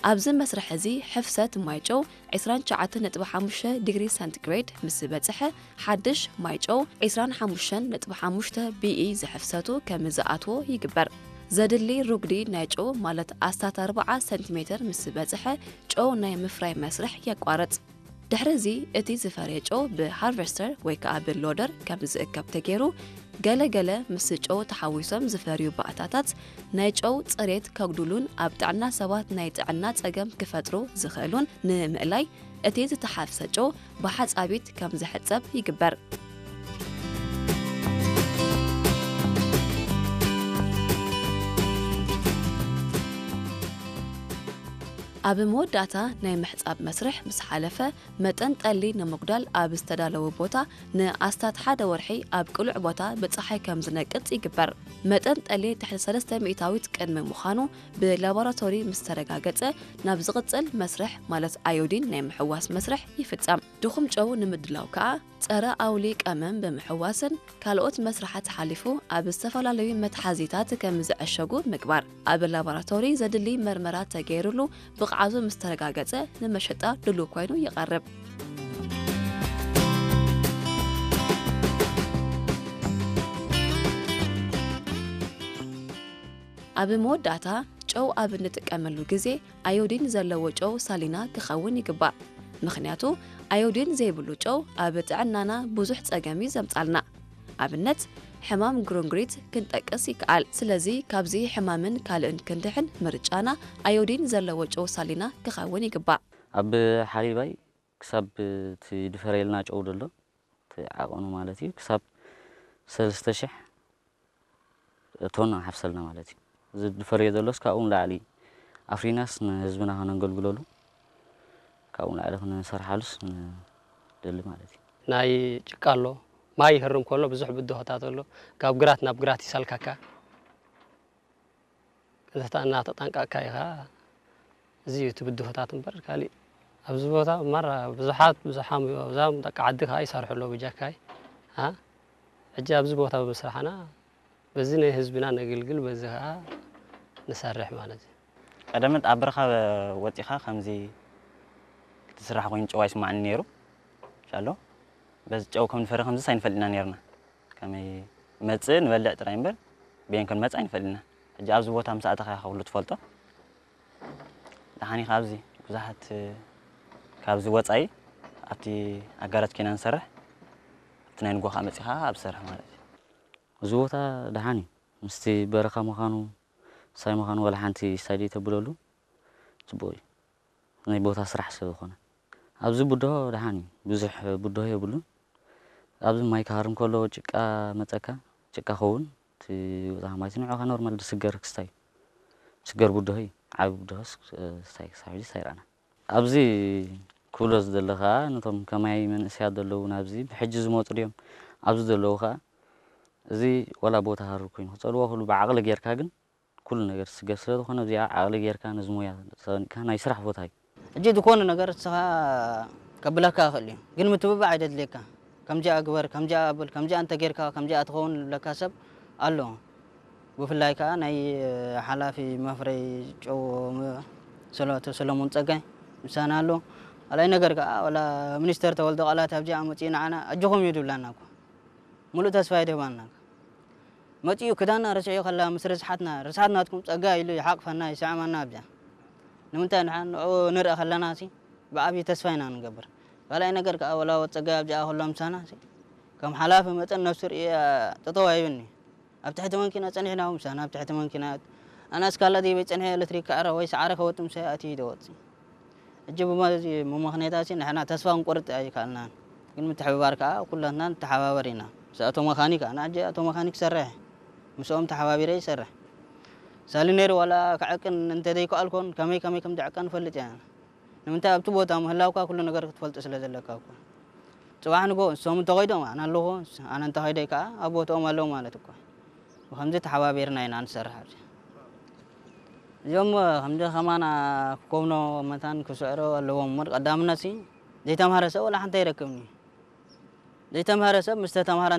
ኣብዚ መስርሕ እዚ ሕፍሰት ማይ ጨው ዕስራን ትሽዓተን ነጥቢ ሓሙሽተ ዲግሪ ሰንቲግሬድ ምስ በጽሐ፣ ሓድሽ ማይ ጨው ዕስራን ሓሙሽተን ነጥቢ ሓሙሽተ ቢኢ ዝሕፍሰቱ ከም ዝኣትዎ ይግበር። ዘድሊ ሩጉዲ ናይ ጨው ማለት ኣስታት ኣርብዓ ሰንቲሜተር ምስ በጽሐ፣ ጨው ናይ ምፍራይ መስርሕ የቋርጽ። ድሕሪ እዚ እቲ ዝፈርየ ጨው ብሃርቨስተር ወይ ከኣ ብሎደር ከም ዝእከብ ተገይሩ፣ ገለ ገለ ምስ ጨው ተሓዊሶም ዝፈርዩ ባእታታት ናይ ጨው ጽሬት ከጉድሉን ኣብ ጥዕና ሰባት ናይ ጥዕና ጸገም ክፈጥሩ ዝኽእሉን ንምእላይ እቲ ዝተሓፍሰ ጨው ብሓጻቢት ከም ዝሕጸብ ይግበር። ኣብ መወዳእታ ናይ ምሕጻብ መስርሕ ምስ ሓለፈ፣ መጠን ጠሊ ንምጉዳል ኣብ ዝተዳለወ ቦታ ንኣስታት ሓደ ወርሒ ኣብ ቅሉዕ ቦታ ብጸሓይ ከም ዝነቅጽ ይግበር። መጠን ጠሊ ትሕቲ ሰለስተ ሚእታዊት ቅድሚ ምዃኑ ብላቦራቶሪ ምስ ተረጋገጸ፣ ናብ ዝቕጽል መስርሕ ማለት ኣዮዲን ናይ ምሕዋስ መስርሕ ይፍጸም። ድኹም ጨው ንምድላው ከኣ ጸረ ኣውሊ ቀመም ብምሕዋስን ካልኦት መስርሓት ሓሊፉ ኣብ ዝተፈላለዩ መትሓዚታት ከም ዝዕሸጉ ምግባር። ኣብ ላቦራቶሪ ዘድሊ መርመራ ተገይሩሉ ብቕዓቱ ምስ ተረጋገጸ ንመሸጣ ድሉው ኮይኑ ይቐርብ። ኣብ መወዳእታ ጨው ኣብ እንጥቀመሉ ግዜ ኣዮዲን ዘለዎ ጨው ሳሊና ክኸውን ይግባእ። ምኽንያቱ ኣዮዲን ዘይብሉ ጨው ኣብ ጥዕናና ብዙሕ ጸገም እዩ ዘምጻልና። ኣብነት ሕማም ግሩንግሪት ክንጠቅስ ይከኣል። ስለዚ ካብዚ ሕማምን ካልእን ክንድሕን ምርጫና ኣዮዲን ዘለዎ ጨው ሳሊና ክኸውን ይግባእ። ኣብ ሓሊባይ ክሳብ እቲ ድፈረየልና ጨው ደሎ እቲ ዓቐኑ ማለት እዩ ክሳብ ሰለስተ ሽሕ ቶን ሓፍሰልና ማለት እዩ። እዚ ድፈርዮ ዘሎስ ካብኡ ንላዕሊ ኣፍሪናስ ንህዝብና ከነገልግለሉ ካብኡ ንላዕሊ ክንሰርሓሉስ ንደሊ ማለት እዩ። ናይ ጭቃ ኣሎ፣ ማይ ይህርም ከሎ ብዙሕ ብድሆታት ኣሎ። ካብ ግራት ናብ ግራት ይሰልካካ። እናተጠንቀቕካ ኢኻ። እዚ እዩ እቲ ብድሆታት እምበር ካሊእ ኣብዚ ቦታ ማራ ብዙሓት ብዙሓም እዩ። ኣብዛ ደቂ ዓዲ ከዓ ይሰርሑ ኣለዉ ብጃካይ። አ? ሕጂ ኣብዚ ቦታ ብምስራሕና በዚ ናይ ህዝብና ነግልግል፣ በዚ ከዓ ንሰርሕ ማለት እዩ። ቀደመት ኣብ በረኻ ወፂኻ ከምዚ ክትስራሕ ኮይኑ ጨው ኣይስማዕኒ ነይሩ። ሻሎ በዚ ጨው ከም ንፈሪ ከምዚስ ኣይንፈልጥና ነይርና። ከመይ መፅእ ንበልዕ ጥራይ እምበር በየን ከም መፅእ ኣይንፈልጥና። ሕጂ ኣብዚ ቦታ ምስ ኣተኻ ኢኻ ኩሉ ትፈልጦ። ደሓን ኢኻ ኣብዚ ብዙሓት ካብዚ ወፃኢ ኣብቲ ኣጋራት ኮይና ንሰርሕ ኣብቲ ናይ ንጎ ከዓ መፂኻ ኣብ ሰርሕ ማለት እዩ። እዚ ቦታ ደሓን እዩ ምስቲ በረኻ ምዃኑ ሳይ ምዃኑ ዋላ ሓንቲ ሳይ ተብለሉ ፅቡቅ እዩ። ናይ ቦታ ስራሕ ስለ ዝኾነ ኣብዚ ብድሆ ደሓን እዩ። ብዙሕ ብድሆ የብሉን። ኣብዚ ማይ ክሃርም ከሎ ጭቃ መፀካ ጭቃ ኸውን እቲ ውፃ ማይ ንዑ ኖርማል ዝስገር ክስታይ እዩ። ዝስገር ብድሆ እዩ። ዓቢ ብድሆስ ስታይ ክሳብ ሕጂ ሳይረኣና ኣብዚ ክብሎ ዝደለ ከዓ ነቶም ከማይ መንእሰያት ዘለዉ ናብዚ ብሕጂ ዝመፁ ድዮም ኣብዚ ዘለዉ ከዓ እዚ ዋላ ቦታ ሃሩ ኮይኑ ክፀልዎ ክሉ ብዓቕሊ ጌርካ ግን ኩሉ ነገር ዝስገር ስለ ዝኾነ እዚኣ ዓቕሊ ጌርካ ነዚ ሞያ ሰኒቅካ ናይ ስራሕ ቦታ እዩ። ሕጂ ዝኾነ ነገር ንስኻ ከብለካ ይኽእል እዩ ግን ምትብባዕ ኣይደድልየካ። ከምዚኣ ግበር ከምዚኣ ኣብል ከምዚኣ እንተጌርካ ከምዚኣ ትኸውን ዝብለካ ሰብ ኣሎ። ብፍላይ ከዓ ናይ ሓላፊ መፍረይ ጨው ሰለቶ ሰለሙን ፀጋይ ምሳና ኣሎ። ካልኣይ ነገር ከዓ ዋላ ሚኒስተር ተወልደ ቃላት ኣብዚኣ መፅኡ ንዓና ኣጆኹም እዩ ድብላና እኳ። ሙሉእ ተስፋ ይድህባና። መፂኡ ክዳና ርሲዑ ከላ ምስ ርስሓትና ርስሓት ናትኩም ፀጋ ኢሉ ይሓቕፈና ይስዕመና ኣብዚኣ። ንምንታይ ንሓ ንኡ ንርኢ ከለና ሲ ብዓብዪ ተስፋ ኢና ንገብር። ካልኣይ ነገር ከዓ ወላ ወፀጋ ኣብዚኣ ከሎ ምሳና ሲ ከም ሓላፊ መጠን ነፍሱ ርእየ ጠጠው ኣይብኒ። ኣብ ትሕቲ መንኪና ፀኒሕና ምሳና ኣብ ትሕቲ መንኪና ኣናስ ካላ ደይበይ ፀንሐ ኤሌክትሪክ ክዕረ ወይ ሰዓረ ከወጥ ምሳይ ኣትዩ ይደወፅ። ሕጂ ብመዚ ምምኽኔታሲ ንሕና ተስፋ ክንቆርጥ ኣይከኣልናን። ግን ምትሕብባር ከኣ ኩላትና ንተሓባበር ኢና። ምስ ኣቶ መኻኒክ ኣነ ሕጂ ኣቶ መኻኒክ ይሰርሕ ምስኦም ተሓባቢረ ይሰርሕ። ሳሊ ነይሩ ዋላ ክዕቅን እንተዘይከኣልኩን ከመይ ከመይ ከም ዝዕቀን እፈልጥ እየ። ንምንታይ ኣብቲ ቦታ ምህላውካ ኩሉ ነገር ክትፈልጦ ስለ ዘለካ እኮ። ጽባሕ ንጎ ንሶም እንተኸይዶም ኣነ ኣለኹ ኣነ እንተኸይደይ ከኣ ኣብ ቦትኦም ኣለዉ ማለት እኮ። ብኸምዚ ተሓባቢርና ኢና ንሰርሕ ኣብዚ። እዚኦም ከምዚ ከማና ክኮብኖ መታን ክስዕሮ ኣለዎም እምበር ቀዳምነት ሲ ዘይተምሃረ ሰብ ወላ ሓንቲ ኣይረክብን እዩ። ዘይተምሃረ ሰብ ምስ ተተምሃረ